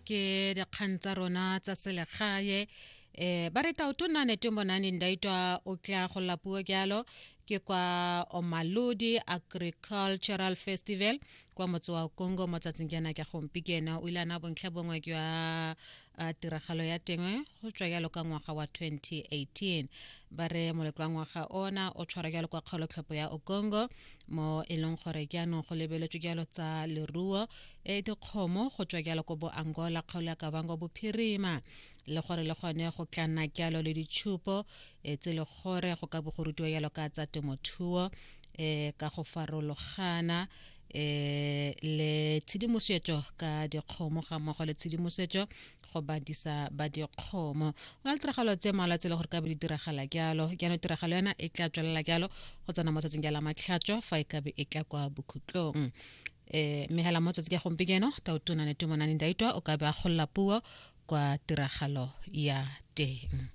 Ke dikgang tsa rona tsa selegae. Ba re Tautona Netumbo Nandi Ndaitwah o tla go puo jalo ke kwa Omaludi Agricultural Festival kwa motse wa Congo mo tsatsing jaana ke gompieno. O ile a na bontlha bongwe jwa tiragalo ya teng go tswa jalo ka ngwaga wa 2018. Ba re moletlo wa ngwaga ona o tshwara jalo kwa kgaolotlhopho ya Okongo, mo e leng gore jaanong go lebeletswe jalo tsa leruo e dikgomo go tswa jalo ko bo Angola, kgaolo ya Kavango Bophirima, le gore le gone go tla nna jalo le ditshupo tse le gore go ka bo go rutiwa jalo ka tsa temothuo ka go farologana, le tshedimosetso ka dikgomo ga mmogo le tshedimosetso go badisa ba dikgomo. Go na le tiragalo tse mmalwa tse e le gore ka be di diragala jalo. Jaanong tiragalo yona e tla tswelela jalo go tsena mo tsatsing ja la matlhatso fa e ka be e tla kwa bokhutlong. Mme hela mo tsatsi ka gompieno Tautona Netumbo Nandi Ndaitwah o ka be a golola puo kwa tiragalo ya teng.